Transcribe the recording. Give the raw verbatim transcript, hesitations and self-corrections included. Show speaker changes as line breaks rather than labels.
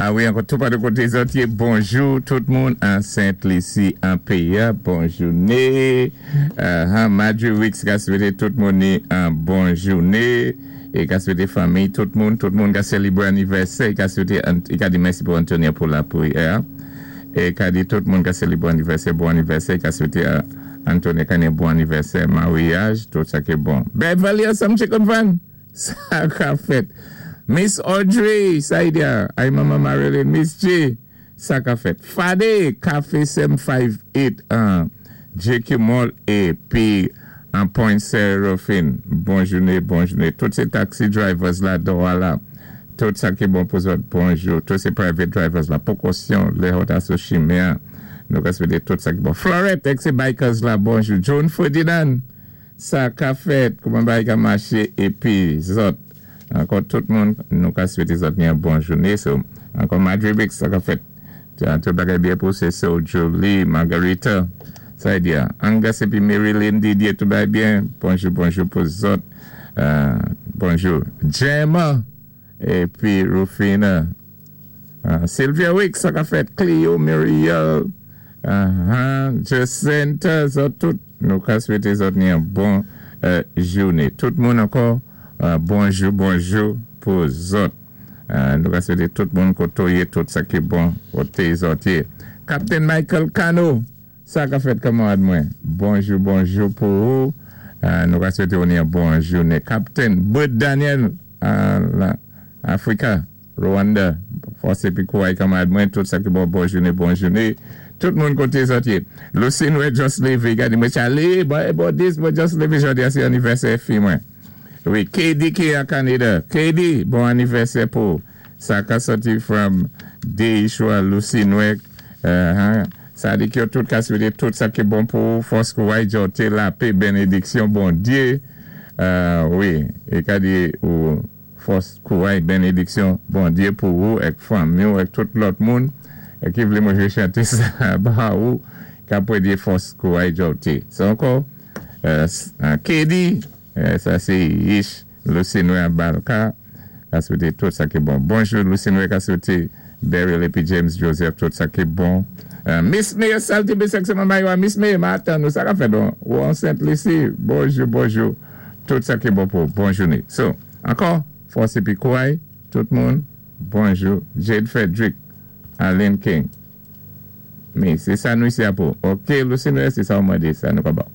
A wi, ankò tou pa dé koté zòt yé. Bonjou tout moun an Sent Lisi an péyi. Bon jouné. Uh, Marjorie Wicks ka swété tout moun ni an bon jouné. É ka swété fanmi, tout moun, tout moun ka sélébwé anivèsè, ka swété, i ka di mèsi pou Antonia pou lapwiyè. É ka di tout moun ka sélébwé anivèsè, bon anivèsè, ka swété Antonia ka ni bon anivèsè, maryaj, tout sa ki bon. Beverly Assam Chicken Van, sa ka fèt. Miss Audrey, Saidia, ay Mama Marilyn, Miss J, sa ka fèt. Fade, Café sept cinq huit, an J Q Mall épi an Point Seraphine. Bon jouné, bon jouné. Tout sé taxi drivers la, la. Tout sa ki bon pou zòt, bonjou. Tout sé private drivers la. Pwékosyon, lè ou ta sou chimen. Nou ka swété tout sa ki bon. Florette, èk sé bikers la, bonjou. John Ferdinand, sa ka fèt, kouman bagay ka maché, épi zòt. Ankò tout moun, nou ka swété zòt ni an bon jouné. So, ankò Madre Bix, sa ka fèt. Tout bagay byen pou sé so Julie, Margarita, sa y di ya. Angus épi Marilyn Didier, tout bagay byen. Bonjou, bonjou pou zòt. Euh, bonjou. Gemma, épi Rufina. Uh, Sylvia Wick, sa ka fèt. Cleo, Muriel, uh, Jacinta, zòt tout. Nou ka swété zòt ni an bon euh, jouné. Tout moun ankò, uh, bonjou, bonjou pou zòt. Uh, nou ka swété tout moun koté ou yé, tout sa ki bon, koté zòt yé. Captain Michael Cano, sa ka fèt, kanmarad mwen. Bonjou, bonjou pou ou. Uh, nou ka swété ou ni an bon jouné. Captain Bud Daniel, uh, la, Afrika, Rwanda, fòs épi kouray, kanmarad mwen, tout sa ki bon, bon jouné, bon jouné. Tout moun koté zòt yé. Lucine mwen just lévé, gadi mwen chale, bon, bon, dis, mwen just lévé jòdi a sé anivèsè fi mwen. Wi, K D ki a Kanada. K D, bon anivèsè pou. Sa ka sòti from Deishwa Lucine. Uh, sa di ki yo tout ka swété tout sa ki bon pou fòs kouray jòté lapè bénédiksyon Bondyé. Uh, wi, é ka di ou fòs kouray bénédiksyon Bondyé pou ou èk fanmi ou èk tout lòt moun é ki vlé mwen chanté sa ba ou ka pwé di fòs kouray jòté. Sa ankò, uh, K D, sa sé Ish Lucine Balka ka swété tout sa ki bon. Bonjou Lucine ka swété Beryl épi James Joseph tout sa ki bon. Miss May Salty Bisek se manman yo. Miss May, matan nou sa ka fè don. Ou an Sent Lisi. Bonjou, bonjou. Tout sa ki bon pou bon jouné. So, ankò, fòs épi kouray, tout moun, bonjou. Jade Frederick, Aline King. Mi, sé sa nou isi a pou. Ok, Lucine, sé sa ou mandé, sa nou ka ba.